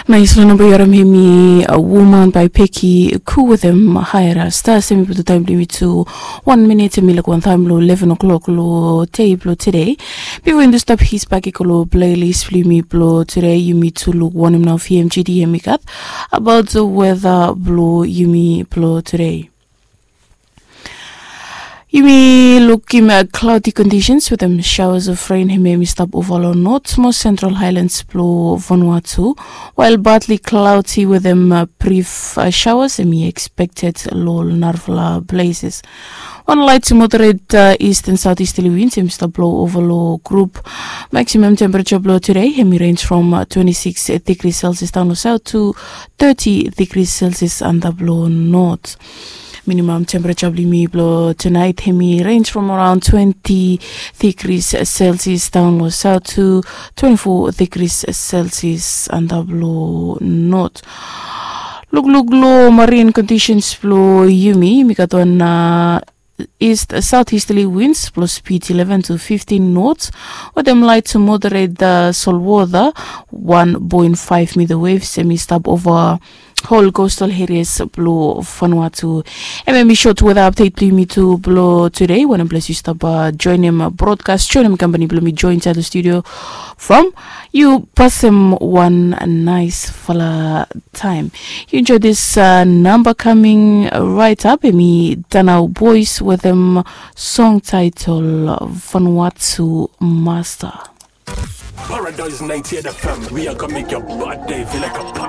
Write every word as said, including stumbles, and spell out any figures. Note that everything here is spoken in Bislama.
Nais long namba yu harim hemi a woman bai peki ku wetem haera stas. Hemi putum taem blong yumi tu wan minit hemi laik wantaem long eleven o'clock long dei blong tudei. Bifo yumi tu stap his bak i go long plelis blong yumi blong tudei, yumi tu luk wanem nao vmgd hemi gat abaot weta blong yumi blong tudei. Yumi lukim klaudi kondisens wetem shaoas of ren hemia hemi stap ova long not mo sentral haelans blong vanua tu, wael badli klaudi wetem brif shaoas hemi ekspekted long narafala pleses. Wan laet moderet ist an saot istali wins hemi stap blou ova long grup. Maksimam tempereja blong tude hemi renj from twenti siks digri selsias daon long saot tu teti digri selsias antap long not. Minimam tempereja blong yumi blong tunaet hemi renj from araon twenti digri selsias daon long saot tu twenti fo digri selsias antap long not. Lukluk long marin kondisens blong yumi, yumi gat wan ist saot istali wins blong spid eleven tu fiftin nots wetem laet tu moderet solwota. Wan poen faef mita wevs hemi stap ova hol kostal erias blong Vanuatu. Hemia hemi sot weta apdet blong yumi tu blong tude. Wanem ples yu stap joenem brodkas, joenem kampani blong mi joen insaed long studio from, yu pasem wan naesfala taem. Yu enjoe dis namba kaming raet ap, hemi Danau Boys wetem song taetol Vanuatu Masta. Paradise ninety-eight F M, we are gonna make your bad day feel like a party.